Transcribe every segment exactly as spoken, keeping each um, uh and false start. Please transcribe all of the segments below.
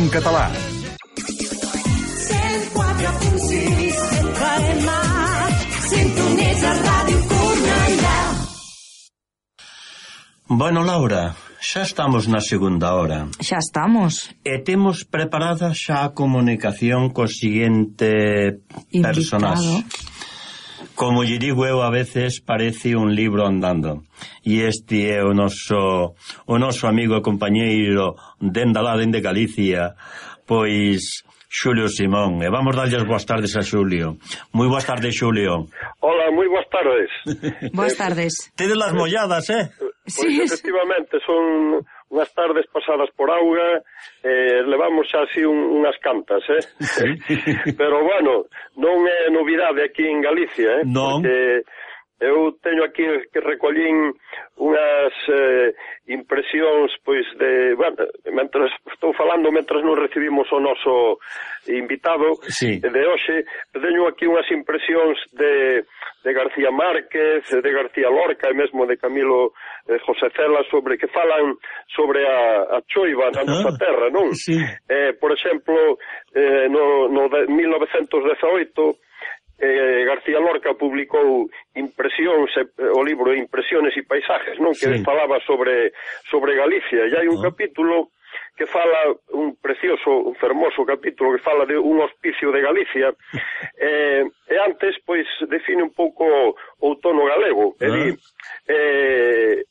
en català. cent quatre punt sis F M, sintonitza Ràdio Cornellà. Bueno, Laura, xa estamos na segunda hora. Xa estamos. E temos preparada xa a comunicación co seguinte personaxe. Como lle digo eu, a veces parece un libro andando. E este é o noso o noso amigo e compañeiro dende lá, dende Galicia, pois Xulio Simón. E vamos darlle as boas tardes a Xulio. Moi boas tardes, Xulio. Hola, moi boas tardes. Boas tardes. Tedes las molladas, eh? Pois sí, efectivamente, son unhas tardes pasadas por auga, eh, levamos xa así un, unhas cantas, eh? Sí. Pero, bueno, non é novidade aquí en Galicia, eh? Non. Porque eu teño aquí que recollín unhas eh, impresións, pois, de... Bueno, mentras estou falando, mentras non recibimos o noso invitado, sí, de hoxe, teño aquí unhas impresións de, de García Márquez, de García Lorca e mesmo de Camilo eh, José Cela, sobre que falan sobre a, a choiva na nosa terra, non? Sí. Eh, por exemplo, eh, no, no de mil novecentos dezaoito, Eh, García Lorca publicou Impresións, eh, o libro Impresiones e Paisajes, non? Que sí, falaba sobre sobre Galicia, e hai un oh. capítulo que fala, un precioso, un fermoso capítulo que fala de un hospicio de Galicia, eh, e antes, pois, define un pouco o outono galego, e di, eh,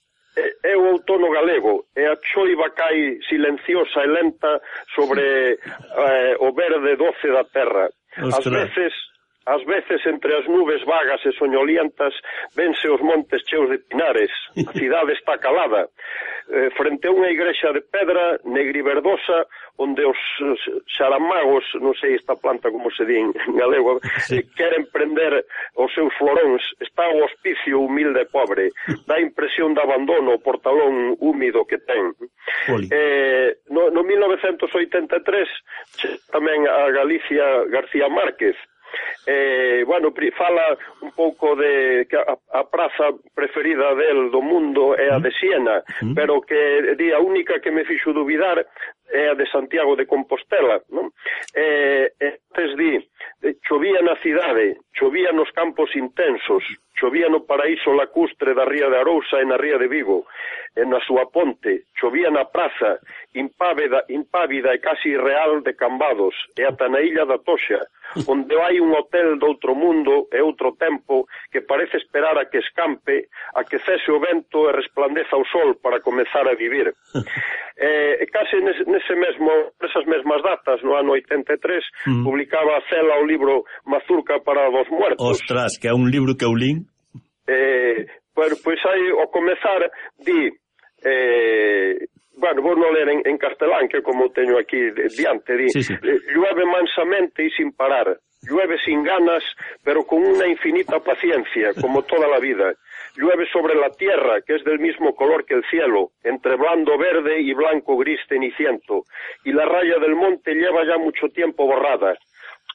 é o outono galego, e a choiva cai silenciosa e lenta sobre eh, o verde doce da terra. Ás veces Ás veces, entre as nubes vagas e soñolientas, vense os montes cheos de pinares. A cidade está calada. Eh, frente a unha igrexa de pedra negriverdosa, onde os xaramagos, non sei esta planta como se di en galego, sí, queren prender os seus floróns. Está o hospicio humilde e pobre. Dá impresión de abandono o portalón húmido que ten. Eh, no, no mil novecentos oitenta e tres, tamén a Galicia García Márquez. Eh, bueno, fala un pouco de que a, a praza preferida del do mundo é a de Siena, mm. pero que di a única que me fixo dubidar é a de Santiago de Compostela, non? Eh, antes di, chovía na cidade, chovía nos campos intensos, chovía no paraíso lacustre da ría de Arousa e na ría de Vigo, e na súa ponte, chovía na praza, impávida, impávida e casi irreal de Cambados, e ata na illa da Toxa, onde hai un hotel de outro mundo e outro tempo que parece esperar a que escampe, a que cese o vento e resplandeza o sol para comezar a vivir. E case nese mesmo, nesas mesmas datas, no ano oitenta e tres, mm. publicaba Cela o libro Mazurca para os muertos. Ostras, que é un libro que eu lín. Eh, pois, pois aí, ao comezar, di... Eh, bueno, vou non ler en, en castelán, que como teño aquí diante, di, sí, sí. Llueve mansamente e sin parar, llueve sin ganas, pero con una infinita paciencia, como toda la vida. Llueve sobre la tierra, que es del mismo color que el cielo, entre blando verde y blanco gris ceniciento, y la raya del monte lleva ya mucho tiempo borrada.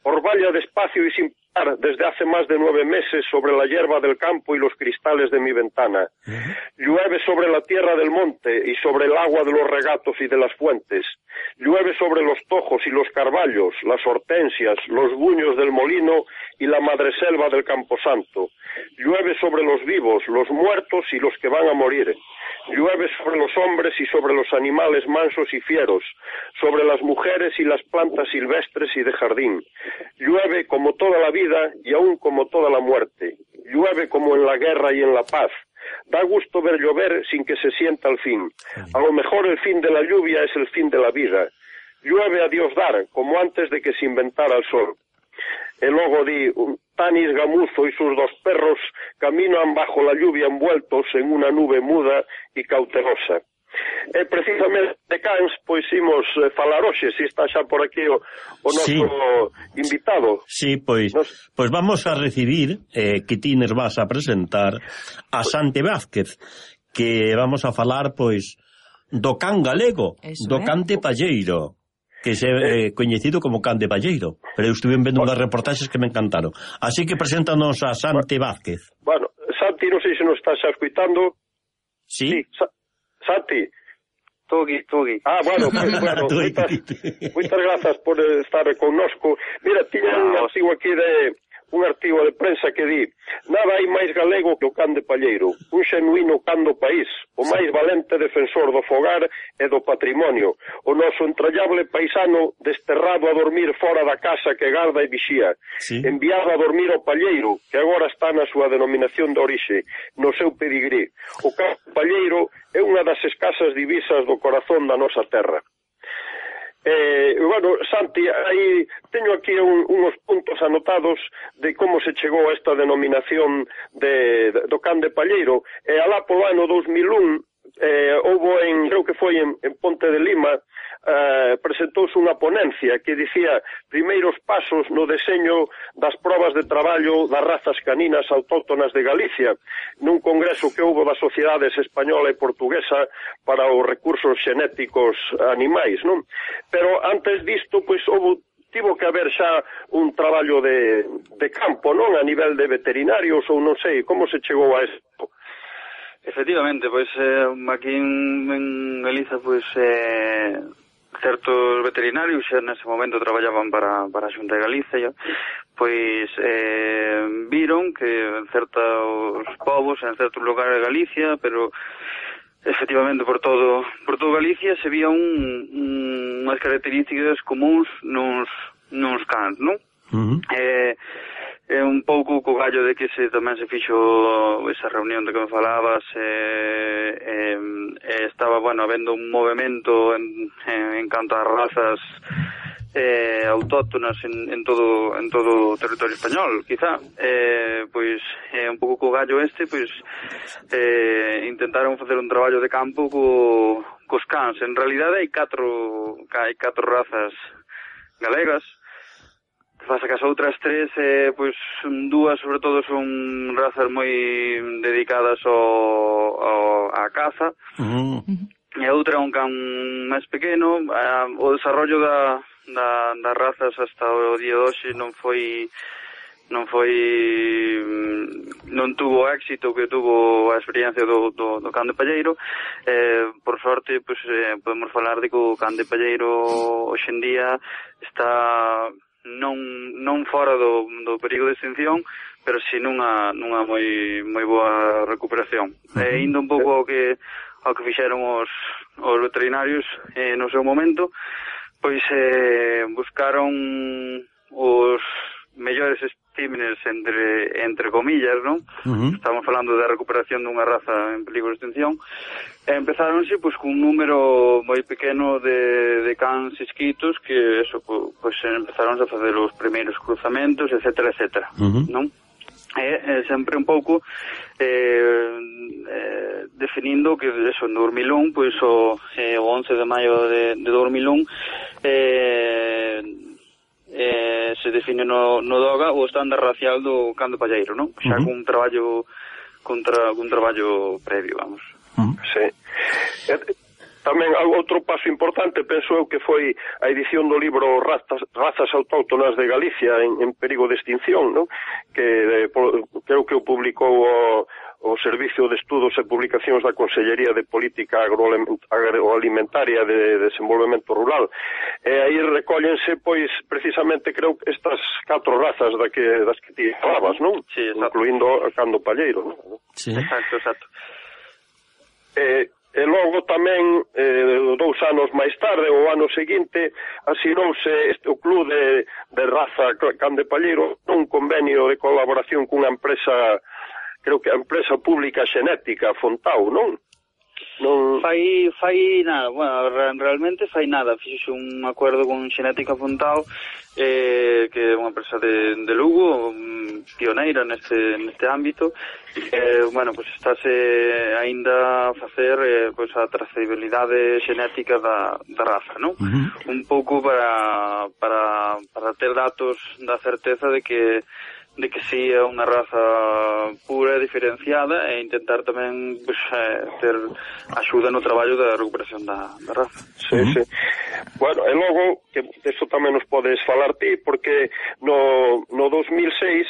Orvalla despacio y sin parar desde hace más de nueve meses sobre la hierba del campo y los cristales de mi ventana. Uh-huh. Llueve sobre la tierra del monte y sobre el agua de los regatos y de las fuentes. Llueve sobre los tojos y los carballos, las hortensias, los buños del molino y la madreselva del camposanto. Llueve sobre los vivos, los muertos y los que van a morir. Llueve sobre los hombres y sobre los animales mansos y fieros, sobre las mujeres y las plantas silvestres y de jardín. Llueve como toda la vida y aún como toda la muerte. Llueve como en la guerra y en la paz. Da gusto ver llover sin que se sienta el fin. A lo mejor el fin de la lluvia es el fin de la vida. Llueve a Dios dar, como antes de que se inventara el sol. E logo di, Tanis Gamuzo y sus dos perros caminan bajo la lluvia envueltos en una nube muda y cautelosa. E precisamente de Cans, pois imos eh, falar hoxe, se está xa por aquí o, o noso sí. invitado. Sí, pois, Nos... pois vamos a recibir, eh, que ti nos vas a presentar, a Santi Vázquez, que vamos a falar, pois, do can galego, Eso do é. cante palleiro, que é eh, coñecido como can de palleiro, pero eu estuve vendo unhas reportaxes que me encantaron. Así que preséntanos a Santi Vázquez. Bueno, Santi, non sei se nos estás xa escuitando. Sí. sí Sa Santi, Estou aquí, estou aquí. Ah, bueno, pues, bueno moitas, moitas grazas por estar connosco. Mira, tiña un artigo aquí de un artigo de prensa que di: nada hai máis galego que o can de Palleiro, un xenuíno can do país, o máis valente defensor do fogar e do patrimonio, o noso entrallable paisano desterrado a dormir fora da casa que garda e vixía, sí. Enviado a dormir ao Palleiro, que agora está na súa denominación de orixe, no seu pedigrí. O can de Palleiro é unha das escasas divisas do corazón da nosa terra. Eh, bueno, Santi, aí teño aquí un, unos puntos anotados de como se chegou a esta denominación de, de, do can de Palleiro. E alá polo ano dos mil un, eh, houbo en, creo que foi en, en Ponte de Lima, eh, presentouse unha ponencia que dicía primeiros pasos no deseño das probas de traballo das razas caninas autóctonas de Galicia, nun congreso que houbo das sociedades española e portuguesa para os recursos xenéticos animais, non? Pero antes disto, pois, houbo tivo que haber xa un traballo de, de campo, non? A nivel de veterinarios ou non sei, como se chegou a isto? Efectivamente, pois eh, aquí en, en Galiza, pois eh, certos veterinarios xa nese momento traballaban para, para a Xunta de Galicia, pois eh, viron que en certos povos, en certos lugares de Galicia, pero efectivamente por todo por todo Galicia se vía un, un, unhas características comuns nos, nos cans, non? Uh-huh. Eh, é un pouco co gallo de que se tamén se fixo esa reunión de que me falabas, eh, eh, eh, estaba, bueno, habendo un movimento en, en, en canto ás razas eh, autóctonas en, en todo en todo o territorio español, quizá, eh, pois é eh, un pouco co gallo este, pois eh, intentaron facer un traballo de campo co, cos cans. En realidade hai catro hai catro razas galegas. Pasa que as outras tres, eh, pois, dúas, sobre todo, son razas moi dedicadas ao, ao, á caza, uh-huh. E a outra é un can máis pequeno. Ah, o desarrollo da, da, das razas hasta o día de hoxe non foi non foi non tuvo éxito que tuvo a experiencia do, do, do can de Palleiro. Eh, por sorte, pois, eh, podemos falar de que o can de Palleiro hoxe en día está non non fora do, do perigo de extinción, pero si nunha nunha moi moi boa recuperación. Uh-huh. E indo un pouco ao que ao que fixeron os os veterinarios eh, no seu momento, pois eh, buscaron os mellores espécimenes entre entre comillas, non? Uh-huh. Estamos falando da recuperación dunha raza en peligro de extinción. E empezáronse pois cun número moi pequeno de, de cans inscritos que eso, pois empezaron a facer os primeiros cruzamentos, etcétera, etcétera, uh-huh. Non? E, e sempre un pouco eh, eh, definindo que eso, en dos mil un, pois o, eh, o once de maio de, de dos mil un eh, eh, se define no, no DOGA o estándar racial do can de Palleiro, non? Xa uh-huh. cun traballo contra cun traballo previo, vamos. Uh-huh. Sí. E, tamén outro paso importante, penso eu, que foi a edición do libro Razas, Razas Autóctonas de Galicia en, en perigo de extinción, non? Que eh, por, creo que o publicou o, o Servicio de Estudos e Publicacións da Consellería de Política Agroalimentaria de Desenvolvemento Rural. E aí recóllense, pois, precisamente, creo, estas catro razas da que, das que ti falabas, non? Sí, exacto. Incluindo a can do Palleiro, non? Sí. Exacto, exacto. E, e logo tamén, eh, dous anos máis tarde, o ano seguinte, asinouse este, o Club de, de Raza Can de Palleiro un convenio de colaboración cunha empresa, creo que a empresa pública xenética Fontao, non? Non... Fai, fai nada, bueno, realmente fai nada, fixo un acordo con Xenética Fontao, eh, que é unha empresa de, de Lugo, pioneira neste, neste ámbito, eh, bueno, pues estáse aínda a facer eh, pues, a trazabilidade xenética da, da raza, non? Uh-huh. Un pouco para, para, para ter datos da certeza de que de que si é unha raza pura e diferenciada e intentar tamén pues, eh, ter axuda no traballo da recuperación da, da raza. Sí, uh-huh. sí. Bueno, e logo, que isto tamén nos podes falar ti, porque no, no dos mil seis,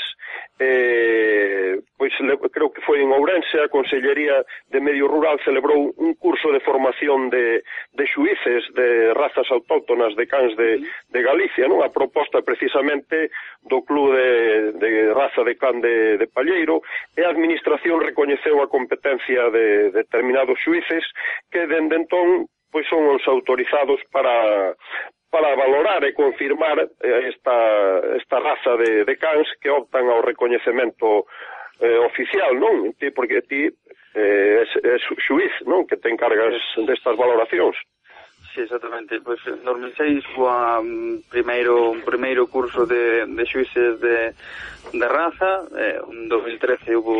eh, pois creo que foi en Ourense, a Consellería de Medio Rural celebrou un curso de formación de, de xuíces de razas autóctonas de cans de, de Galicia, non? A proposta precisamente do Club de, de raza de can de, de Palleiro, e a Administración recoñeceu a competencia de, de determinados xuíces que dende entón pois son os autorizados para para valorar e confirmar esta, esta raza de, de cans que optan ao recoñecemento eh, oficial, non? Ti, porque ti eh, es, es xuiz, non? Que te encargas destas valoracións. Sí, exactamente. Pois en dos mil seis foi un primeiro, un primeiro curso de, de xuíces de, de raza, eh, en dos mil trece hubo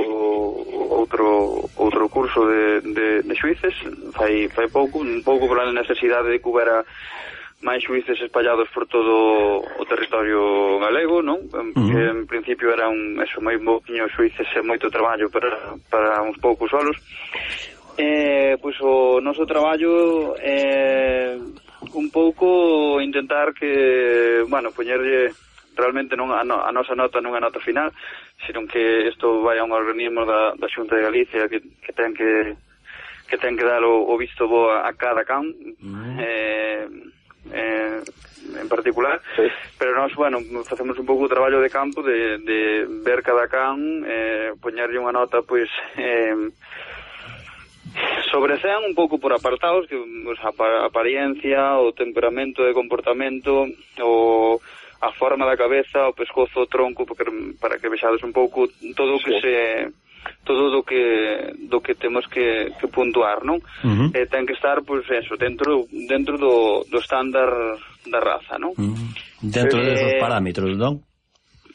outro outro curso de, de, de xuíces, fai, fai pouco, un pouco por a necesidade de que houbera máis xuíces espallados por todo o territorio galego, non? Que uh-huh. en principio era un, eso, moi pouquiño xuíces e moito traballo para, para uns poucos solos. Eh, pois o noso traballo é eh, un pouco intentar que, bueno, poñerlle realmente non a, no, a nosa nota non é nota final, sino que isto vai a un organismo da, da Xunta de Galicia que, que ten que que ten que dar o, o visto bo a, a cada can, uh-huh. eh, eh, en particular, sí. Pero nós, bueno, facemos un pouco o traballo de campo de, de ver cada can, eh, poñerlle unha nota, pois, eh, sobre cen un pouco por apartados, que pues, a apariencia, o temperamento de comportamento, o a forma da cabeza, o pescozo, o tronco, porque, para que vexades un pouco todo o que sí. se todo do que do que temos que, que puntuar, non? Uh-huh. Eh, ten que estar, pois, pues, eso, dentro dentro do, do estándar da raza, non? Uh-huh. Dentro eh, desos parámetros, non?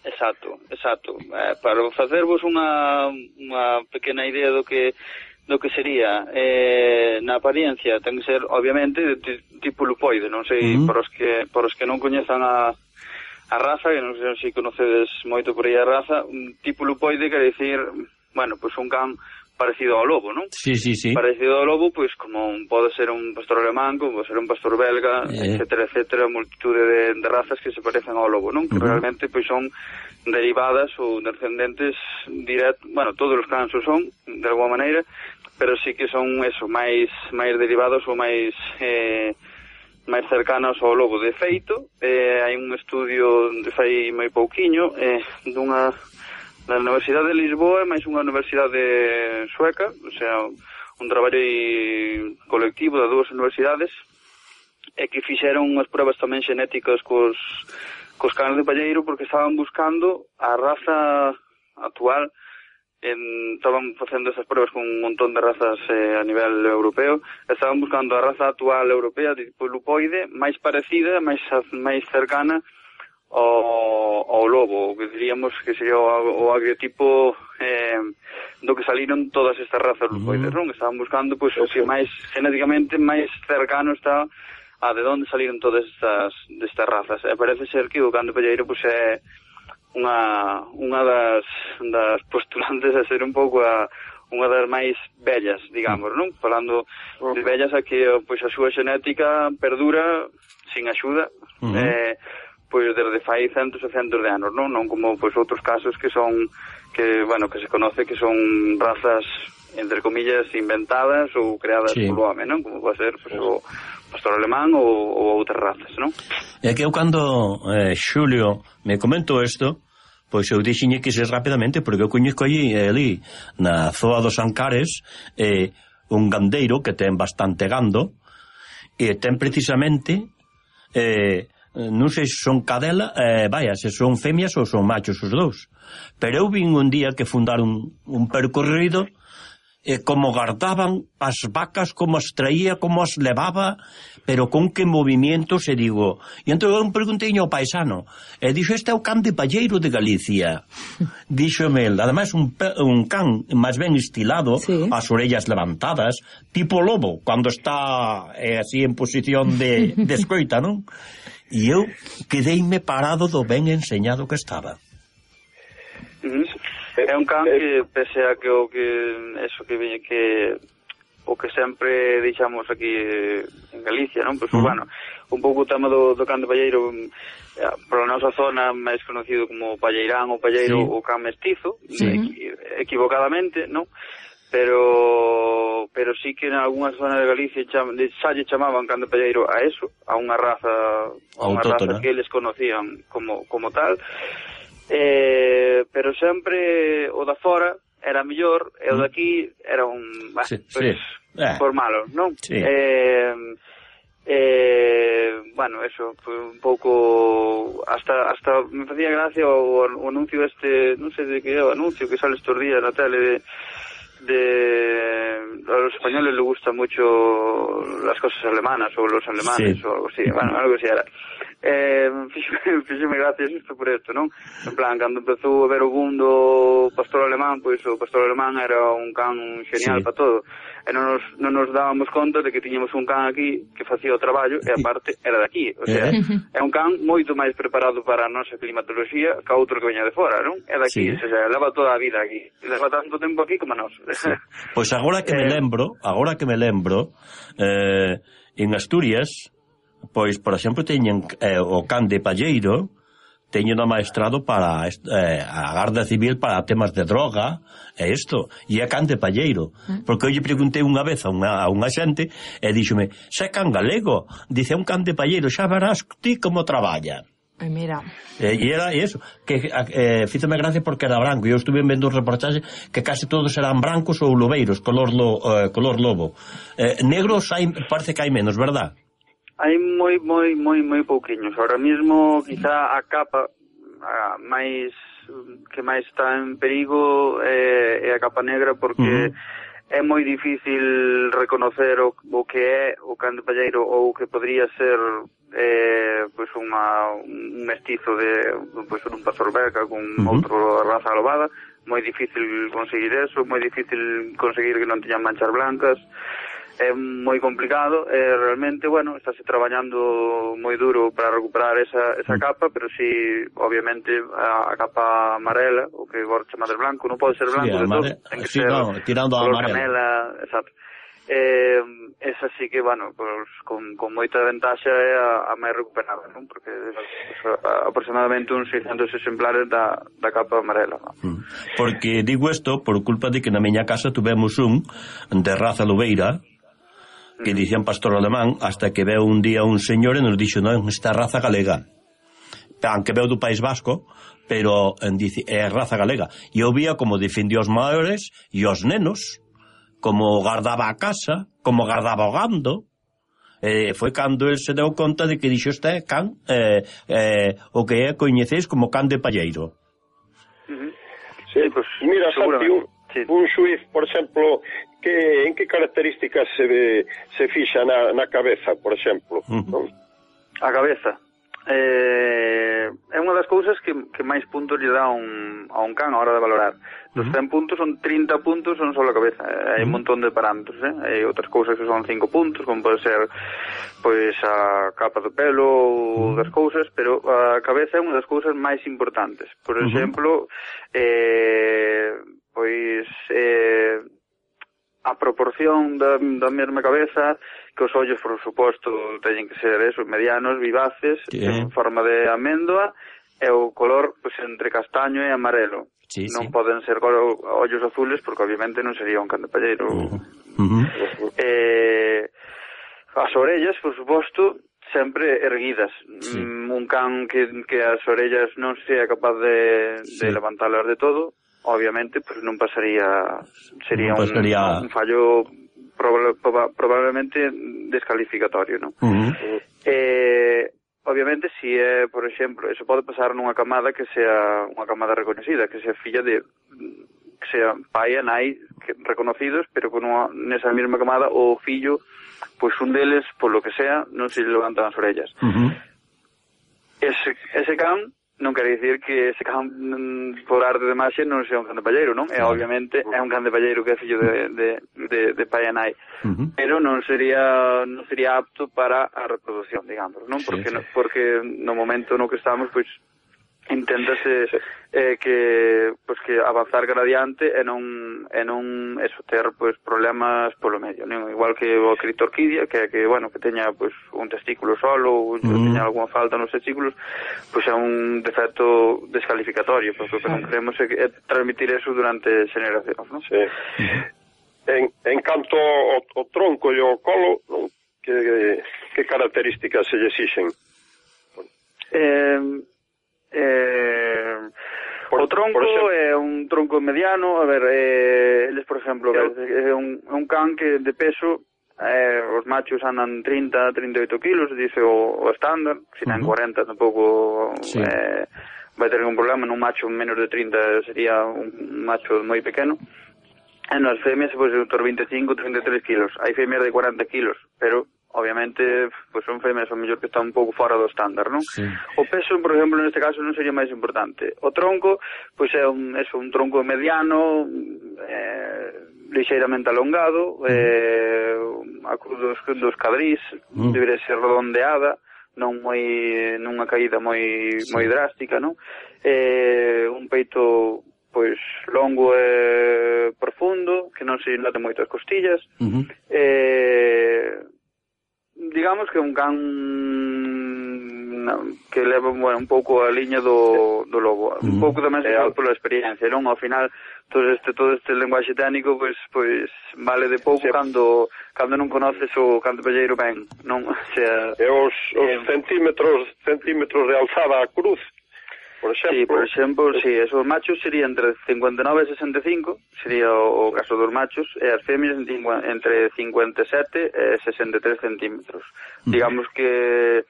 Exacto, exacto. Eh, para facervos unha unha pequena idea do que do que sería eh, na apariencia, ten que ser, obviamente, de tipo lupoide, non sei, uh-huh. por os que por os que non coñezan a a raza, que non sei se conocedes moito por aí a raza, un tipo lupoide quer dicir, bueno, pois pues un can parecido ao lobo, non? Sí, sí, sí. Parecido ao lobo, pois pues, como un, pode ser un pastor alemán, como pode ser un pastor belga, eh. etcétera, etcétera, multitude de, de razas que se parecen ao lobo, non? Que uh-huh. realmente pois pues, son derivadas ou descendentes directos, bueno, todos os cans o son, de alguma maneira, pero sí que son eso, máis máis derivados ou máis eh, máis cercanos ao lobo. De feito, eh, hai un estudio de fai moi pouquiño eh, dunha da Universidade de Lisboa, máis unha universidade sueca, o sea, un traballo colectivo das dúas universidades, e que fixeron unhas pruebas tamén xenéticas cos, cos canes de palleiro, porque estaban buscando a raza actual, en, estaban facendo esas pruebas con un montón de razas eh, a nivel europeo, estaban buscando a raza actual europea de tipo lupoide, máis parecida, máis, máis cercana ao, ao lobo, que diríamos que sería o, o agriotipo eh, do que saliron todas estas razas lupoides, non? Estaban buscando pois, o que máis genéticamente máis cercano está a de onde saliron todas estas destas razas. E parece ser que o can de palleiro pois, é unha, unha das, das postulantes a ser un pouco a unha das máis bellas, digamos, non? Falando de bellas a que pois, a súa xenética perdura sin axuda, uh-huh. eh, pois desde fai centos e centos de anos, non? Non como pois outros casos que son que, bueno, que se conoce que son razas entre comillas inventadas ou creadas sí. polo home, non? Como pode ser pois, o pastor alemán ou, ou outras razas, non? É que eu cando eh, Xulio me comentou isto, pois eu dixiñe que se rapidamente, porque eu coñezco allí, ali na zoa dos Ancares, eh, un gandeiro que ten bastante gando, e ten precisamente eh, non sei se son cadela, eh, vaya, se son femias ou son machos os dous. Pero eu vin un día que fundaron un percorrido e como guardaban as vacas, como as traía, como as levaba, pero con que movimientos, e digo... E entón eu preguntei ao paisano, e dixo, este é o can de palleiro de Galicia. Díxome el, ademais un, un can máis ben estilado, sí. As orellas levantadas, tipo lobo, cando está eh, así en posición de, de escoita, non? E eu quedeime parado do ben enseñado que estaba. É un can que, pese a que o que eso que veñe que o que sempre deixamos aquí en Galicia, non? Pois, uh-huh. bueno, un pouco o tema do, do can de palleiro, pola nosa zona máis conocido como palleirán ou palleiro, sí. o can mestizo, sí. equi, equivocadamente, non? Pero pero sí que en algunha zona de Galicia cham, de, xa lle chamaban can de palleiro a eso, a unha raza a unha raza que eles conocían como, como tal, eh, pero sempre o da fora era mellor, e o de aquí era un... Bah, sí, pues, sí. Eh. por malo, non? Sí. Eh, eh, bueno, eso, pues, un pouco... Hasta hasta me facía gracia o, o anuncio este, non sei de que é o anuncio que sale estos días na tele de... de a los españoles les gusta mucho las cosas alemanas o los alemanes, sí. o algo así, bueno, algo así era. Eh, fíxeme gracias isto por esto, non? En plan, cando empezou a ver o boom do pastor alemán, pois o pastor alemán era un can genial, sí. para todo. E non nos, non nos dábamos conta de que tiñamos un can aquí que facía o traballo e aparte era de aquí. O sea, é un can moito máis preparado para a nosa climatoloxía que outro que veña de fora, non? É de aquí, sí. o sea, leva toda a vida aquí. Leva tanto tempo aquí como a nós. Sí. Pois agora que me lembro, agora que me lembro, eh, en Asturias, pois, por exemplo, teñen eh, o can de palleiro, teñen o maestrado para eh, a Garda Civil para temas de droga e isto, e é can de palleiro, porque eu lle preguntei unha vez a unha, a unha xente e díxome, xa é can galego, dice, un can de palleiro, xa verás ti como traballa. Ai, mira. E eh, era eso, que eh, fízome gracia porque era branco, e eu estuve vendo un reportaxe que case todos eran brancos ou lobeiros, color, lo, eh, color lobo. Eh, negros hai, parece que hai menos, verdad? Hai moi, moi, moi, moi pouquiños. Ahora mismo, quizá a capa a máis que máis está en perigo é, é a capa negra, porque uh-huh. é moi difícil reconocer o, o que é o can de palleiro ou o que podría ser eh, pues unha, un mestizo de pues, un pastor belga con uh-huh. outra raza lobada. Moi difícil conseguir eso, moi difícil conseguir que non teñan manchas blancas. É moi complicado, e realmente, bueno, estáse traballando moi duro para recuperar esa, esa capa, pero si, obviamente, a, a capa amarela, o que agora chama de blanco, non pode ser blanco, sí, de todo, ten que sí, ser no, tirando a color amarela. canela, exacto. Eh, esa sí que, bueno, pues, con, con moita ventaxa é a, a máis recuperada, non? Porque pues, aproximadamente uns seiscentos exemplares da, da capa amarela, non? Porque digo isto por culpa de que na miña casa tuvemos un de raza lobeira, que dicían pastor alemán, hasta que veu un día un señor e nos dixo, non, esta raza galega, aunque veu do País Vasco, pero dice, é raza galega. E eu vía como defendía os maiores e os nenos, como guardaba a casa, como guardaba o gando. Eh, foi cando el se deu conta de que dixo, este can, eh, eh, o que é coñeceis como can de palleiro. Uh-huh. Sí, pues mira, Santi, un, sí. un xuiz, por exemplo, que en que características se ve, se fixa na, na cabeza, por exemplo? Uh-huh. A cabeza eh, é unha das cousas que, que máis puntos lle dá un, a un can a hora de valorar. Dos uh-huh. cen puntos son trinta puntos son só a cabeza. Hai uh-huh. un montón de parámetros, eh? Hai outras cousas que son cinco puntos, como pode ser pois a capa do pelo ou uh-huh. das cousas, pero a cabeza é unha das cousas máis importantes. Por exemplo, uh-huh. eh, pois eh, a proporción da, da mesma cabeza, que os ollos, por suposto, teñen que ser esos medianos, vivaces, sí. en forma de améndoa, e o color pues, entre castaño e amarelo. Sí, non sí. poden ser ollos azules, porque obviamente non sería un can de palleiro. Uh-huh. Uh-huh. Eh, as orellas, por suposto, sempre erguidas. Sí. Mm, un can que, que as orellas non sea capaz de, sí. de levantalas de todo, obviamente, pues non pasaría, sería non pasaría... Un, un fallo proba, proba, probablemente descalificatorio, non? Uh-huh. Eh, obviamente, si é, por exemplo, eso pode pasar nunha camada que sea unha camada reconocida, que sea filla de, que sea pai e nai que, reconocidos, pero con unha, nesa mesma camada o fillo, pois pues un deles, por lo que sea, non se levantan as orellas. Uh-huh. Ese, ese can non quere dicir que ese can por arte de maxe non sea un can de palleiro, non? E obviamente é un can de palleiro que é fillo de, de, de, de pai e nai, uh-huh. pero non sería non sería apto para a reproducción, digamos, non? Porque, sí, sí. No, porque no momento no que estamos, pois, inténtase eh, que pues que avanzar gradiente e non e non eso ter pues problemas polo medio, non? Igual que o criptorquidia, que que bueno, que teña pues un testículo solo ou mm. teña algunha falta nos testículos, pues é un defecto descalificatorio, porque o que non queremos é, é transmitir eso durante xeracións, non? Sí. Mm. En, en canto ao, ao tronco e ao colo, non? Que, que características se lle exixen? Eh Eh, o tronco é un tronco mediano, a ver, eh, eles, por exemplo, é un, un can que de peso, eh, os machos andan trinta, trinta e oito kilos, dice o, o estándar, se ten uh -huh. cuarenta tampouco sí. eh, vai ter ningún problema, nun macho menos de trinta sería un macho moi pequeno, e nas femias, pois, pues, vinte e cinco, trinta e tres kilos, hai femias de cuarenta kilos, pero obviamente, pues son femias o mellor que están un pouco fora do estándar, non? Sí. O peso, por exemplo, neste caso non sería máis importante. O tronco, pois é un, é un tronco mediano, eh, lixeiramente alongado, mm. eh, a cruz dos, dos cadrís, mm. debería ser redondeada, non moi nunha caída moi sí. moi drástica, non? Eh, un peito pois longo e profundo, que non se note moitas costillas, uh -huh. eh digamos que un can que leva bueno, un pouco a liña do, do lobo, mm. un pouco tamén se fala pola experiencia, non? Ao final todo este todo este lenguaxe técnico pois pois vale de pouco sí. cando cando non conoces o can de palleiro ben, non? O sea, e os, os eh, centímetros centímetros de alzada a cruz. Por exemplo, sí, por exemplo, sí, esos machos serían entre cincuenta e nove e sesenta e cinco, sería o, o caso dos machos, e as femias entre cincuenta e sete e sesenta e tres centímetros. Uh-huh. Digamos que,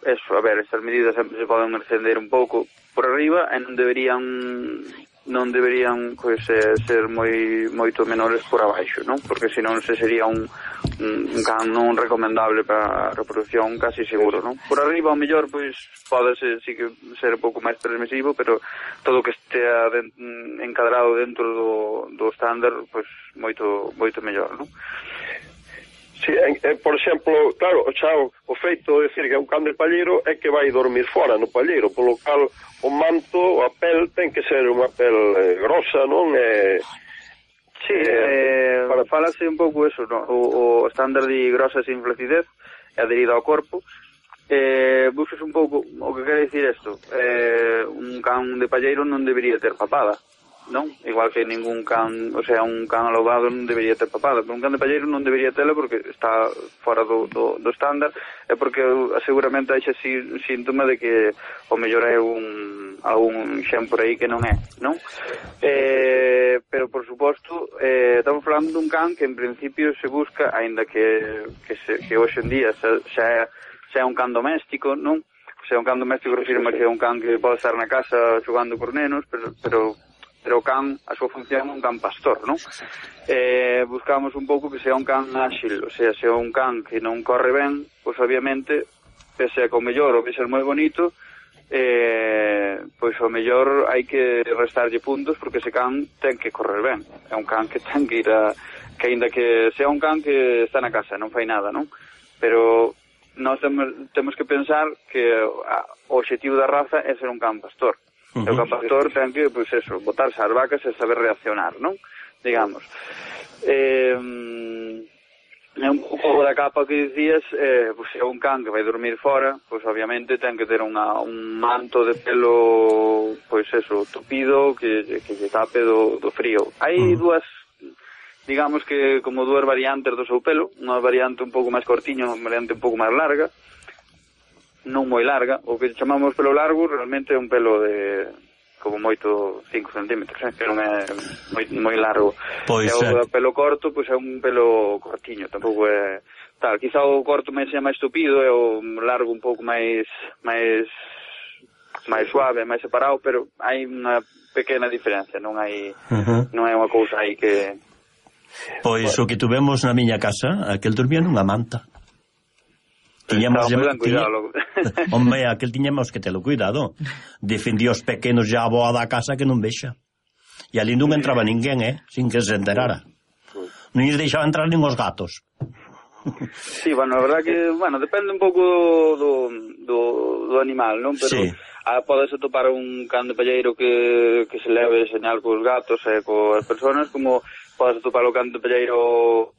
eso, a ver, estas medidas sempre se poden extender un pouco por arriba e non deberían non deberían pois, eh, ser moi moito menores por abaixo, non? Porque senón se sería un, un, un can non recomendable para a reproducción casi seguro, non? Por arriba, ao mellor, pois, pode ser, sí que ser un pouco máis permisivo, pero todo que estea de, encadrado dentro do, do estándar, pois, moito, moito mellor, non? Sí, en, en, por exemplo, claro, xa o, o feito de decir que é un can de palleiro é que vai dormir fora no palleiro, polo cal o manto, a pel, ten que ser unha pel eh, grosa, non? Eh, sí, eh, para... falase un pouco eso, no? o, o estándar de grosa sin flacidez é adherido ao corpo. Eh, busques un pouco o que quere dicir isto. Eh, un can de palleiro non debería ter papada, non? Igual que ningún can, o sea, un can alobado non debería ter papada, pero un can de palleiro non debería tela porque está fora do, do, do estándar, é porque seguramente hai xa síntoma de que o mellor é un algún xen por aí que non é, non? Eh, pero por suposto, eh, estamos falando dun can que en principio se busca, aínda que que, se, que hoxe en día xa, xa, é, xa é un can doméstico, non? Se é un can doméstico refirma que é un can que pode estar na casa xogando por nenos, pero, pero pero o can, a súa función é un can pastor, non? Eh, buscamos un pouco que sea un can áxil, o sea, se é un can que non corre ben, pois obviamente, pese a que o mellor o que ser moi bonito, eh, pois o mellor hai que restarlle puntos porque ese can ten que correr ben. É un can que ten que ir a... que aínda que sea un can que está na casa, non fai nada, non? Pero nós temos, temos que pensar que o obxectivo da raza é ser un can pastor. Uh -huh. E o can pastor ten que, pois eso, botarse as vacas e saber reaccionar, non? Digamos. Eh, é un pouco da capa que dicías, eh, pois é un can que vai dormir fora, pois obviamente ten que ter unha, un manto de pelo, pois eso, tupido, que, que lle tape do, do frío. Hai uh -huh. dúas, digamos que como dúas variantes do seu pelo, unha variante un pouco máis cortiña, unha variante un pouco máis larga, non moi larga, o que chamamos pelo largo realmente é un pelo de como moito cinco centímetros, eh? Que non é moi, moi largo. Pois, e o pelo corto, pois é un pelo cortiño, tampouco é tal, quizá o corto máis é máis tupido e o largo un pouco máis máis máis suave, máis separado, pero hai unha pequena diferencia, non hai uh -huh. non é unha cousa aí que Pois bueno. O que tuvemos na miña casa, aquel dormía nunha manta. Tiñamos no, cuidado. Hombre, aquel tiñamos que telo cuidado. Defendía os pequenos ya a boa da casa que non vexa. E ali non entraba ninguén, eh, sin que se enterara. Non lles deixaba entrar nin os gatos. Sí, bueno, a verdad que, bueno, depende un pouco do, do, do animal, non? Pero sí. ah, podes atopar un can de palleiro que, que se leve señal cos gatos e coas persoas, como podes atopar o can de palleiro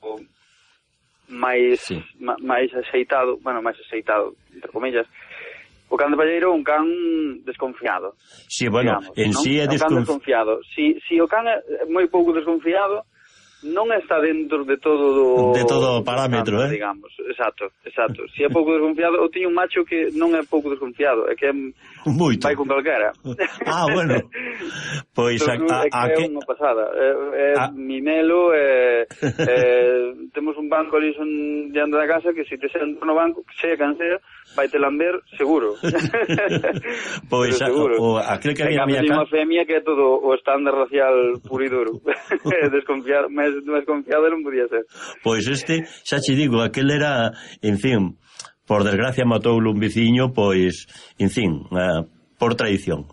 máis sí. ma, máis axeitado, bueno, máis axeitado, entre comillas. O can de palleiro é un can desconfiado. Sí, bueno, digamos, en ¿no? sí é, é un can desconf... desconfiado. Si, si o can é moi pouco desconfiado, non está dentro de todo do... De todo o parámetro, tanto, eh? digamos. Exacto, exacto. Si é pouco desconfiado, eu tiño un macho que non é pouco desconfiado, é que é... Moito. Vai con calquera. Ah, bueno. Pois a, Entón, a, é que a é que... unha pasada. É, é a... mimelo, é, é, temos un banco ali son diante da casa que se te sentas no banco, sea can sea, vai te lamber seguro. Pois a, o, aquel que había a miña casa... unha femia que é todo o estándar racial puro e duro. Desconfiado, máis desconfiado non podía ser. Pois este, xa che digo, aquel era, en fin, por desgracia matoulo un veciño, pois, en fin, uh, por traición.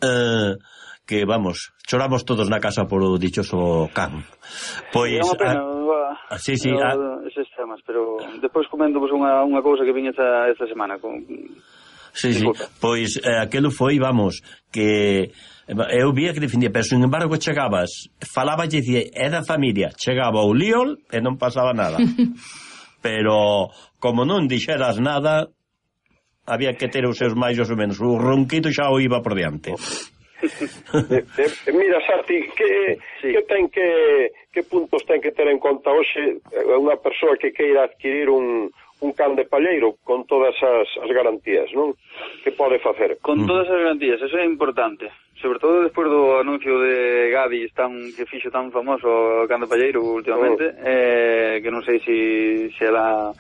Uh, que, vamos, choramos todos na casa por o dichoso can. Pois... É unha pena, a... a... sí, sí, a... eses temas, pero depois comento vos unha, unha cousa que vin esta, esta semana. Con... Sí, sí, pois eh, aquelo foi, vamos, que eu vía que defendía, pero sin embargo chegabas, falaba e dicía, é da familia, chegaba o líol e non pasaba nada. Pero como non dixeras nada, había que ter os seus máis ou menos, o ronquito xa o iba por diante. de, de, mira, Santi, que, sí. que ten que que puntos ten que ter en conta hoxe unha persoa que queira adquirir un, un can de palleiro con todas as, as garantías, non? Que pode facer? Con todas as garantías, eso é importante. Sobre todo despois do anuncio de Gadis tan, que fixo tan famoso o can de palleiro últimamente, oh. eh, que non sei se si, si era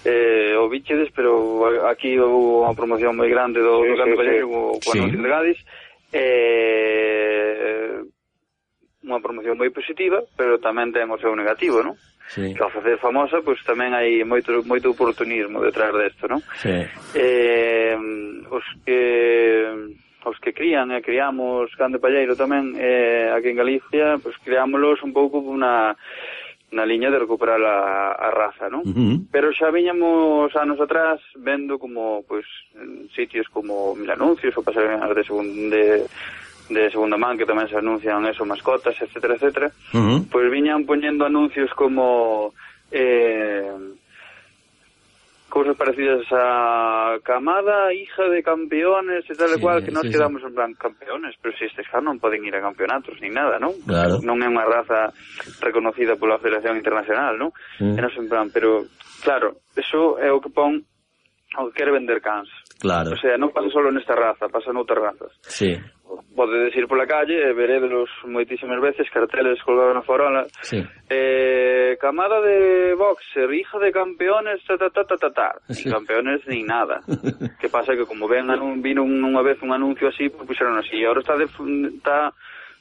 eh, o bichedes, pero aquí houve unha promoción moi grande do, sí, do can de palleiro co, co sí. anuncio de Gadis, eh, unha promoción moi positiva, pero tamén ten o seu negativo, non? Sí. Que ao facer famosa, pois pues, tamén hai moito moito oportunismo detrás desto, non? Sí. Eh, os que os que crían e criamos can de palleiro tamén eh, aquí en Galicia, pois pues, criámoslos un pouco na na liña de recuperar a, a raza, non? Uh-huh. Pero xa viñamos anos atrás vendo como, pois, en sitios como Mil Anuncios ou pasarelas de segunda de, de segunda man que tamén se anuncian eso, mascotas, etcétera, etcétera. Uh-huh. Pois viñan poñendo anuncios como eh cousas parecidas a camada, hija de campeones e tal e sí, cual, que nos sí, quedamos sí. en plan campeones, pero se si estes non poden ir a campeonatos ni nada, non? Claro. Non é unha raza reconocida pola Federación Internacional, non? Sí. E non en plan, pero claro, eso é o que pon o que quere vender cans. Claro. O sea, non pasa solo nesta raza, pasa noutras razas. Sí. Podedes ir pola calle e veredelos moitísimas veces, carteles colgados na farola. Sí. Eh, camada de boxer, hija de campeones, ta ta ta ta ta ta. Sí. Ni campeones ni nada. Que pasa que como ven, vino unha vez un anuncio así, pues puxeron así. E agora está de, está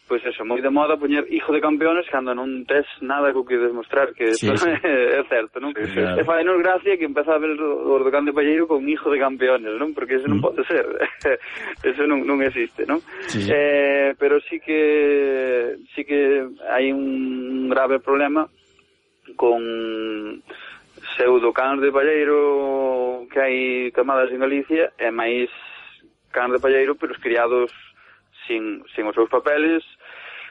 pois pues eso, moi de moda poñer hijo de campeones cando non tes nada co que demostrar que sí, sí. é certo, non? Sí, claro. E fai nos gracia que empeza a ver o do can de palleiro con hijo de campeones, non? Porque eso non mm. pode ser. Eso non, non existe, non? Sí, sí. Eh, pero sí que sí que hai un grave problema con pseudocans de palleiro que hai camadas en Galicia e máis cans de palleiro pero os criados sin, sin os seus papeles,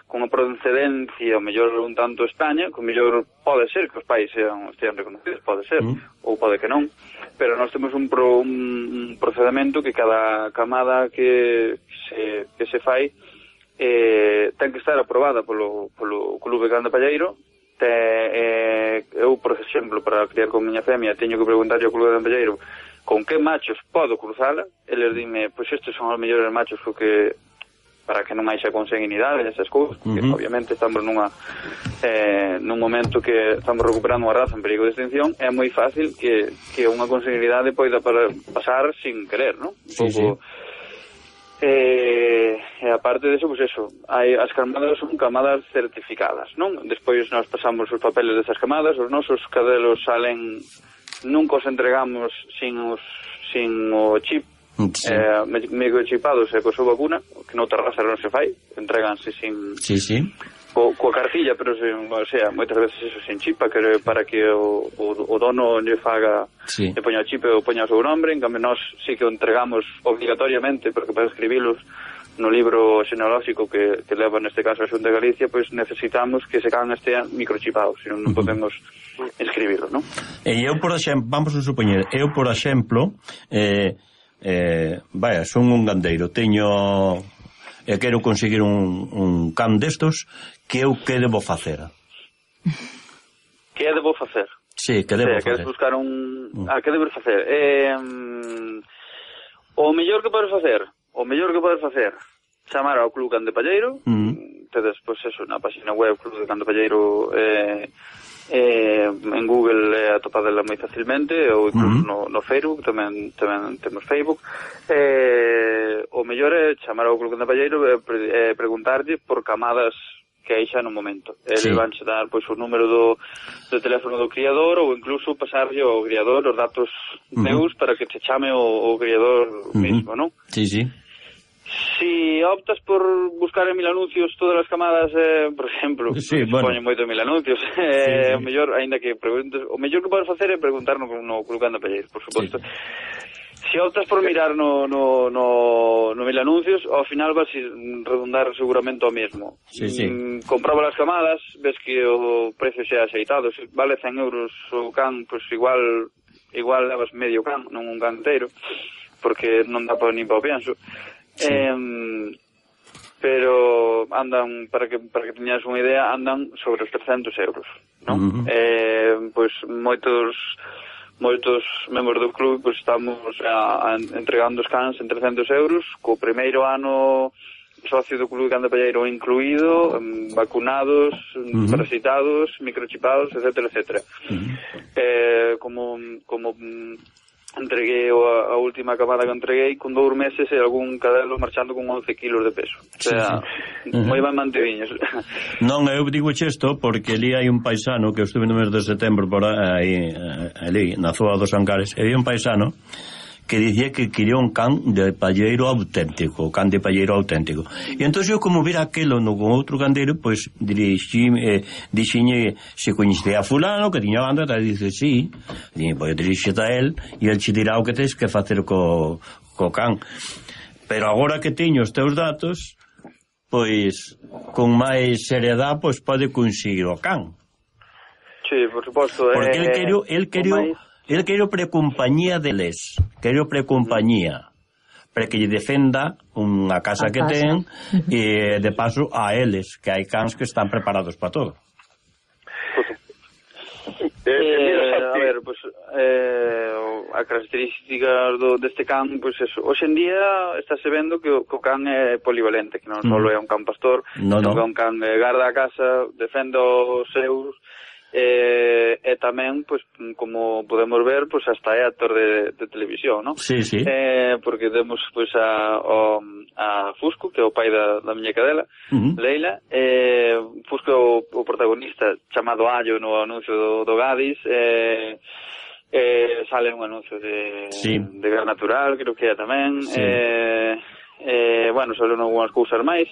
con a procedencia, o mellor un tanto España, que o mellor pode ser que os pais sean, estean reconocidos, pode ser, mm. ou pode que non, pero nós temos un, pro, un procedimento que cada camada que se, que se fai eh, ten que estar aprobada polo, polo Clube Can de Palleiro. Te, eh, eu, por exemplo, para criar con miña femia, teño que preguntarlle ao Clube Can de Palleiro con que machos podo cruzala, eles dime, pois estes son os mellores machos co que para que non haixa consanguinidade e esas cousas, porque uh-huh. obviamente estamos nunha eh, nun momento que estamos recuperando unha raza en perigo de extinción, é moi fácil que, que unha consanguinidade poida para, pasar sin querer, non? Un sí, pouco... Sí. Eh, e aparte de eso, pues eso, hai, as camadas son camadas certificadas, non? Despois nos pasamos os papeles desas camadas, os nosos cadelos salen, nunca os entregamos sin, os, sin o chip, sí. eh, microchipados e co súa vacuna, que noutra raza non se fai, entreganse sin... Sí, sí. co, coa cartilla, pero sen, o sea, moitas veces eso sen chipa, que para que o, o, o dono lle faga, sí. lle poña o chip ou poña o seu nombre. En cambio nós sí que o entregamos obligatoriamente, porque para escribilos no libro xenealóxico que, que leva neste caso a Xunta de Galicia, pois necesitamos que ese can estea microchipado, senón non podemos escribirlo, non? E eu, por exemplo, vamos a supoñer, eu, por exemplo, eh, eh, vaya, son un gandeiro, teño e quero conseguir un, un can destos, que eu que debo facer? Que debo facer? Sí, que debo o sea, facer? Queres buscar un... Mm. Ah, que debo facer? Eh, um, o mellor que podes facer, o mellor que podes facer, chamar ao Club Can de Palleiro, mm. tedes, pois, eso, na página web Club de Can de Palleiro, eh, eh, en Google é atopadela moi facilmente, ou incluso mm. no, no Facebook, tamén tamén temos Facebook. Eh, o mellor é chamar ao Club de Palleiro e pre, eh, preguntarlle por camadas que hai xa no momento. Eles sí. van a dar pois o número do, do teléfono do criador, ou incluso pasarlle ao criador os datos mm. meus para que te chame o, o criador mm. mismo, non? Sí, sí. Si optas por buscar en mil anuncios todas as camadas, eh, por exemplo, sí, se bueno. poñen moito en mil anuncios, eh, sí, sí. o mellor, aínda que preguntes, o mellor que podes facer é preguntar no, no Club Can de Palleiro, por suposto. Sí. Si optas por mirar no, no, no, no mil anuncios, ao final vas a redundar seguramente ao mesmo. Sí, sí. Mm, comproba as camadas, ves que o precio xa axeitado, se vale cen euros o can, pois igual igual levas medio can, non un can inteiro, porque non dá para nin para o pienso. Sí. Eh, pero andan, para que para que teñas unha idea, andan sobre os trescentos euros, non? Uh-huh. Eh, pois moitos moitos membros do club pois estamos a, a, entregando os cans en trescentos euros, co primeiro ano socio do Club Can de Palleiro incluído, um, vacunados, uh-huh. parasitados, microchipados, etcétera, etcétera. Uh-huh. Eh, como como entreguei a, a última camada que entreguei con dous meses e algún cadelo marchando con once kilos de peso, o sea, sí, sí. moi ben mantediños. Non, eu digo isto porque ali hai un paisano que eu estuve no mes de setembro por aí, ali, na zona dos Ancares, e hai un paisano que dicía que quería un can de palleiro auténtico, can de palleiro auténtico. E entón eu, como vira aquelo no con outro gandeiro, pois dirixi, eh, dixiñe se coñecía a fulano que tiña banda, e dice, sí, e pois dirixete a él e el che dirá o que tens que facer co, co can. Pero agora que teño os teus datos, pois con máis seriedade pois pode conseguir o can. Sí, por suposto. Porque eh, el quero, el quero El quero precompañía deles, quero precompañía, para que lle defenda unha casa a que casa. ten, e de paso a eles, que hai cans que están preparados para todo. Eh, eh, a ver, pues, eh, a característica do, deste can, pues eso, hoxe en día estáse vendo que o, que o can é polivalente, que non mm. só é un can pastor, no, no. é un can que garda a casa, defende os seus, Eh, e tamén, pois, como podemos ver, pois hasta é actor de, de televisión, non? Sí, sí. Eh, porque temos, pois, a, o, a Fusco, que é o pai da, da miña cadela, uh-huh. Leila. Eh, Fusco é o, o protagonista chamado Allo no anuncio do, do Gadis. Eh, eh, sale un anuncio de, sí. de gas natural, creo que é tamén. Sí. Eh, eh, bueno, salen algunhas cousas máis.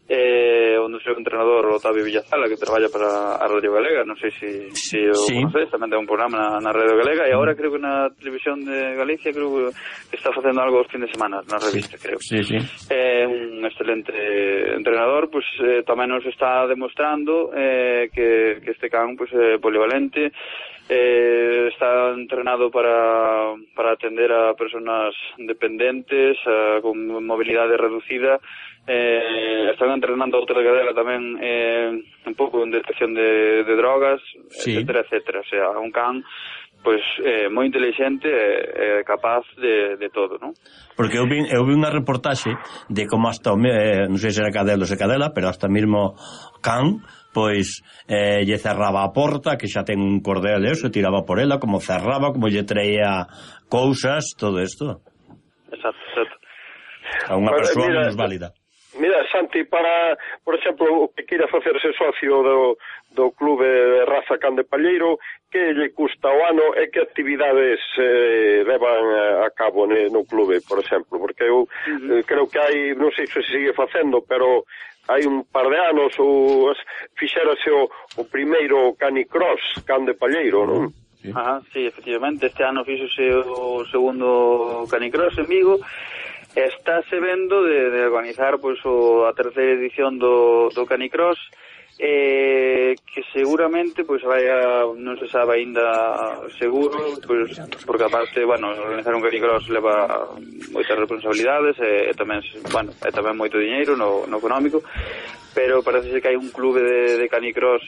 Eh, onde seu entrenador Otavio Villazala, que traballa para a Radio Galega, non sei se si, si o sí. conoces, tamén ten un programa na, na Radio Galega, e agora creo que na televisión de Galicia creo que está facendo algo os fin de semana na revista, sí. creo. Sí, sí. É eh, un excelente entrenador, pois pues, eh, tamén nos está demostrando eh, que, que este can pois pues, é polivalente, eh, está entrenado para, para atender a personas dependentes, a, con mobilidade reducida. Eh, están entrenando a outra cadela tamén eh, un pouco en detección de, de drogas, sí. etcétera, etcétera. O sea, un can pois eh, moi inteligente e eh, capaz de, de todo, non? Porque eu vi, eu vi unha reportaxe de como hasta o eh, non sei se era cadelo ou se cadela, pero hasta mesmo can pois eh, lle cerraba a porta, que xa ten un cordel e eso, tiraba por ela, como cerraba, como lle traía cousas, todo isto. Exacto, exacto. A unha persoa menos válida. Mira, Santi, para, por exemplo, o que queira facerse socio do, do clube de raza Can de Palleiro, que lle custa o ano e que actividades eh, levan a cabo ne, no clube, por exemplo, porque eu uh-huh. eh, creo que hai, non sei se se sigue facendo, pero hai un par de anos o, fixérase o, o primeiro canicross Can de Palleiro, non? Sí. Ajá, sí, efectivamente, este ano fixose o segundo canicross en Vigo. Estáse vendo de, de organizar pois, o, a terceira edición do, do canicross, eh, que seguramente pois vai a, non se sabe aínda seguro, pois, porque aparte, bueno, organizar un canicross leva moitas responsabilidades e, e tamén, bueno, e tamén moito diñeiro no, no económico, pero parece ser que hai un clube de, de canicross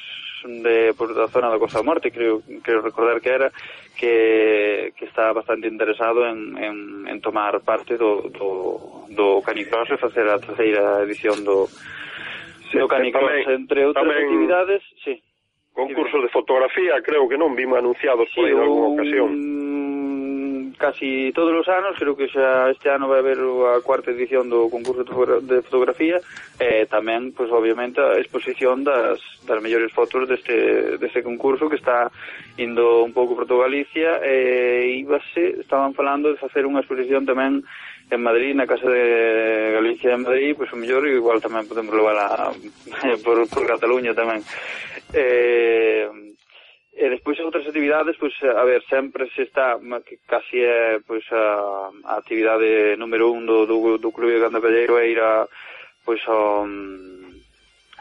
de por da zona da Costa da Morte, creo, creo recordar que era que, que está bastante interesado en, en, en tomar parte do, do, do canicross e facer a terceira edición do, sí, do canicross, tamén, entre outras tamén actividades, sí. Concursos de fotografía, creo que non vimos anunciados sí, por aí en alguna ocasión. Casi todos os anos, creo que xa este ano vai haber a cuarta edición do concurso de fotografía e tamén, pois obviamente, a exposición das, das mellores fotos deste, deste concurso que está indo un pouco por toda Galicia e íbase, estaban falando de facer unha exposición tamén en Madrid, na Casa de Galicia en Madrid, pois o mellor igual tamén podemos levar por, por Cataluña tamén. Eh... E despois outras actividades, pois, a ver, sempre se está, que casi é, pois, a, a actividade número un do, do, do Clube de Can de Palleiro é ir a, pois, a,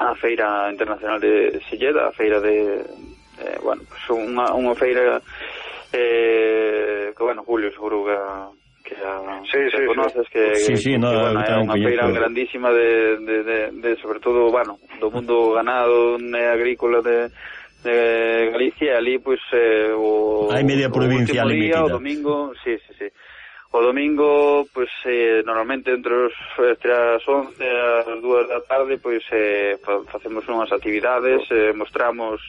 a Feira Internacional de Silleda, a feira de, eh, bueno, pois, unha, unha feira, eh, que, bueno, Julio, seguro que que a, sí, que sí, conoces, sí. que, sí, sí, que, no, que bueno, é unha feira grandísima de, de, de, de, sobre todo, bueno, do mundo ganado e agrícola de de Galicia, ali, pois, eh, o, hai media provincia o último día, metida. o domingo, sí, sí, sí. O domingo, pois, eh, normalmente entre, os, entre as once e as dúas da tarde, pois, eh, facemos unhas actividades, eh, mostramos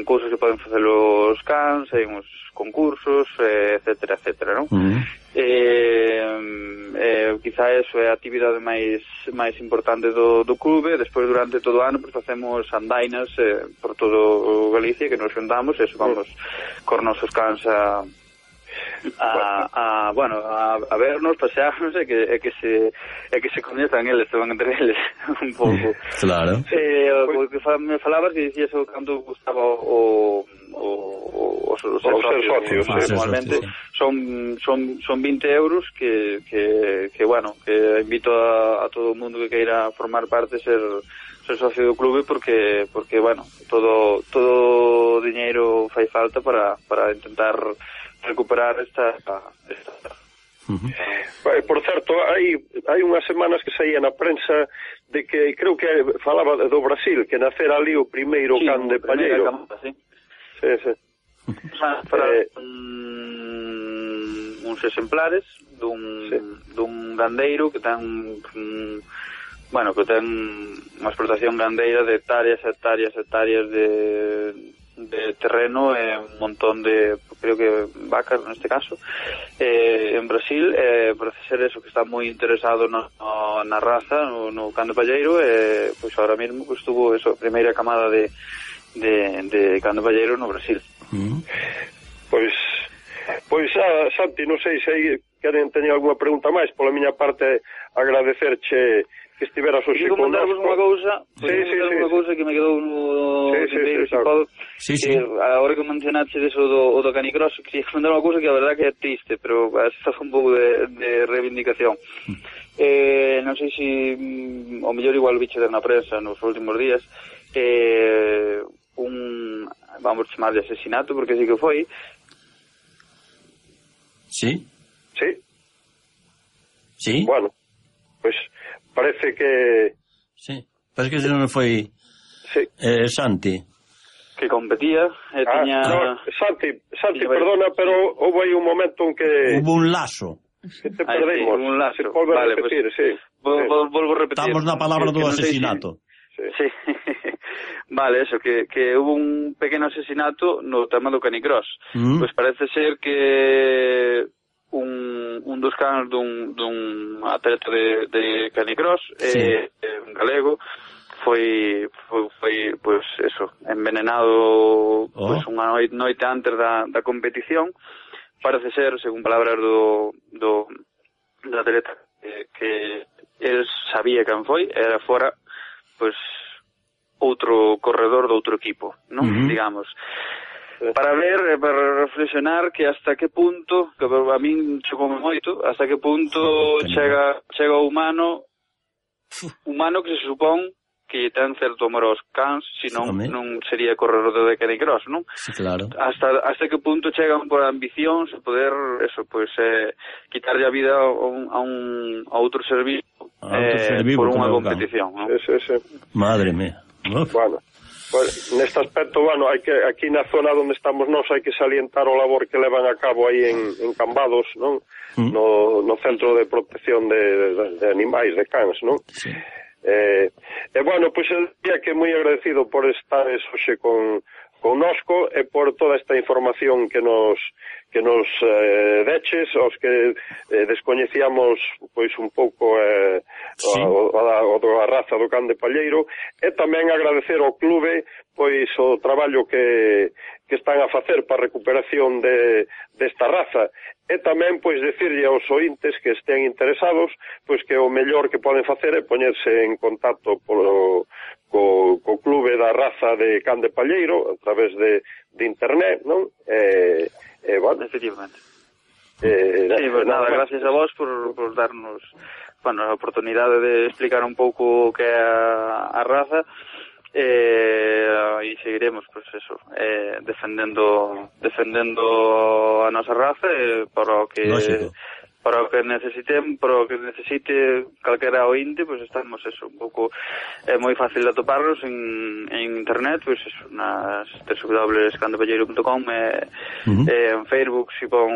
cousas que poden facer os cans, hai uns concursos, eh, etcétera, etcétera, non? Uh-huh. Eh, eh, quizá eso é a actividade máis máis importante do, do clube. Despois, durante todo o ano, pues, facemos andainas eh, por todo Galicia, que nos juntamos, eso, vamos cos nosos cans a a, a bueno, a, a vernos, pasearnos e que, e que se e que se coñezan eles, se van entre eles un pouco. Claro. Eh, o que me falabas que dicías o canto gustaba o o os, os, os ser socios, socios sí, normalmente sí, sí. son son son vinte euros que, que, que bueno, que invito a, a todo o mundo que queira formar parte ser ser socio do clube porque porque bueno, todo todo o diñeiro fai falta para para intentar recuperar esta esta Uh-huh. Por certo, hai hai unhas semanas que saía na prensa de que creo que falaba do Brasil, que nacera ali o primeiro sí, can de Palleiro. Camada, sí. Sí, sí. Para eh, un, uns exemplares dun, sí. dun gandeiro que ten un, bueno, que ten unha explotación gandeira de hectáreas, hectáreas, hectáreas de de terreno e un montón de, creo que vacas neste caso, eh, en Brasil, eh, parece ser eso, que está moi interesado no, no, na raza, no, no can de Palleiro, e eh, pois ahora mesmo pues, tuvo eso, a primeira camada de, de, de can de Palleiro no Brasil. Mm. Pois, pois ah, Santi, non sei se aí queren teñer algunha pregunta máis, pola miña parte agradecerche que estiveras hoxe con nós. Digo unha cousa, sí, sí, sí, unha cousa que me quedou no sí, sí, sí, se podo, sí, sí. que agora que mencionaste eso do, do canicross, quería comentar unha cousa que a verdad que é triste, pero esta foi un pouco de, de reivindicación. Mm. Eh, non sei se mm, o mellor igual biche na prensa nos últimos días, eh, un, vamos chamar de asesinato, porque sí que foi. Sí? Sí. Sí? Bueno, pois pues, parece que... Sí, parece que se non foi sí. eh, Santi. Que competía e ah, tiña... No, Santi, Santi, perdona, pero houve aí un momento en que... Hubo un lazo. Que te perdemos. Sí, un lazo. Se volve vale, a repetir, pues, sí. Vol, sí. Vol, volvo a repetir. Estamos na palabra do no asesinato. Si... Sí. sí. Vale, eso, que, que hubo un pequeno asesinato no tema do canicross. Mm. Pois pues parece ser que... un, un dos cans dun, dun atleta de, de canicross sí. eh, eh, galego, foi foi, foi pois eso, envenenado oh. pois unha noite, noite antes da, da competición. Parece ser, según palabras do do, do atleta, que, que el sabía quen foi, era fora pois outro corredor do outro equipo, non? Uh-huh. Digamos. Para ver, para reflexionar que hasta que punto, que a min chegou moito, hasta que punto chega chega o humano humano que se supón que ten certo amor aos cans, senón non sería corredor de Canicross, non? Sí, claro. Hasta hasta que punto chegan por ambicións e poder, eso, pois, eh, quitarlle a vida a un, a un a outro servicio, a outro eh, servicio por unha competición, non? Sí, sí, sí. Madre mía. Uf. Bueno, pues, neste aspecto, bueno, hai que aquí na zona onde estamos nós hai que salientar o labor que levan a cabo aí en, en Cambados, non? Mm. No, no Centro de Protección de, de, de Animais, de Cans, non? Sí. Eh, e bueno, pois pues, el día que moi agradecido por estar hoxe con connosco e por toda esta información que nos que nos eh, deches, os que eh, descoñecíamos pois un pouco eh, sí. o, o, o, o a raza do can de palleiro, e tamén agradecer ao clube pois o traballo que, que están a facer para a recuperación de desta raza, e tamén pois decirlle aos ointes que estén interesados pois que o mellor que poden facer é poñerse en contacto polo co, co clube da raza de can de palleiro a través de, de internet, non? E, eh, bueno, efectivamente. Eh, sí, pues nada, nada, gracias a vos por, por darnos, bueno, a oportunidade de explicar un pouco o que é a, a raza, eh, e seguiremos, pues eso, eh, defendendo defendendo a nosa raza, eh, para o que Lógico. para o que necesiten, para o que necesite calquera ointe, pues estamos eso, un pouco é eh, moi fácil de atoparnos en, en internet, pues eso, nas w w w punto can de palleiro punto com, eh, uh-huh. eh, en Facebook si pon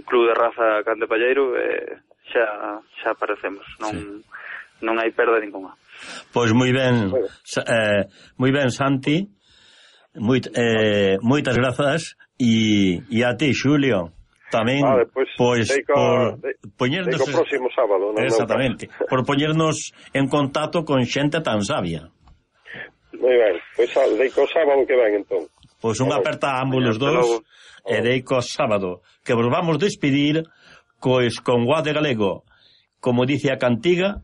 Club de Raza Can de Palleiro, eh, xa xa aparecemos, non sí. non hai perda ninguna. Pois moi ben, eh, moi ben, Santi, moit, eh, moitas grazas e, e a ti, Xulio. Tamén, vale, pues, pois, deico, por de, poñernos... Deico próximo sábado. Non exactamente, por poñernos en contacto con xente tan sabia. Moi ben, pois pues, deico sábado que ven, entón. Pois unha aperta a ambos os dous, e deico sábado, que vos vamos despedir, pois, con Guade Galego, como dice a cantiga,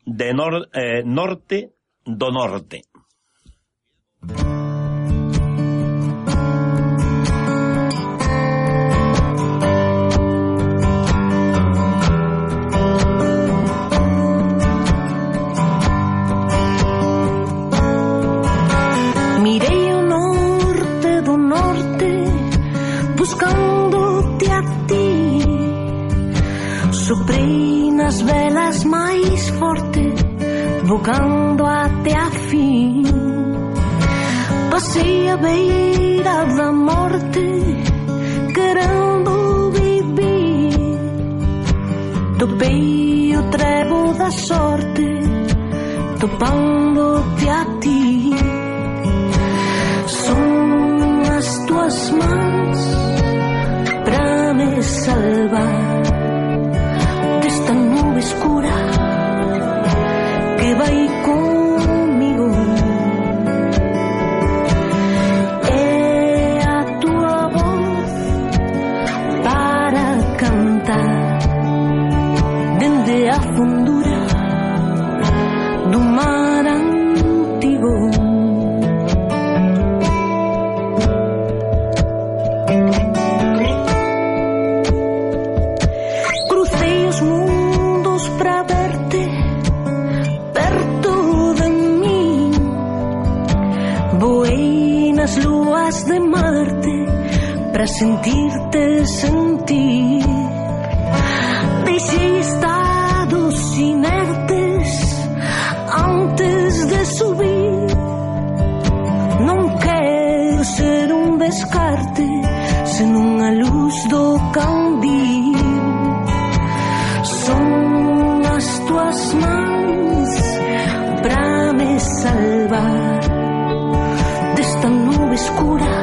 de nor, eh, norte do norte. Mirei o norte do norte buscándote a ti, soprei nas velas máis forte bocando até a fin, passei a beira da morte querendo vivir, topei o trevo da sorte topando-te a ti. Son as tuas mãos pra me salvar desta nube escura que vai comigo. É a tua voz para cantar dende a fundura do mar antigo. Cruzei os mundos pra verte perto de mim, voei nas luas de Marte pra sentir-te sentir, deixei estados inertes antes de subir, non quero ser un descarte senón a luz do candil. Son as tuas mãos pra me salvar desta nube escura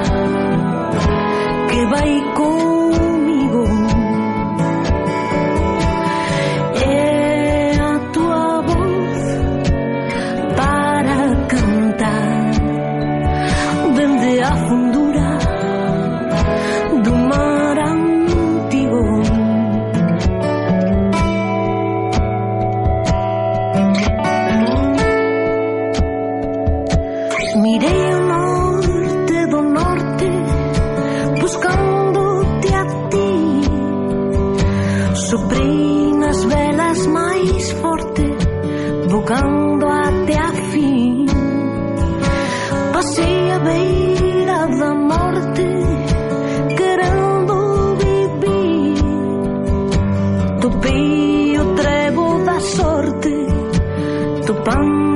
que vai comigo. É a tua voz forte, vogando até a fim. Passei a beira da morte, querendo viver. Topei o trevo da sorte, topando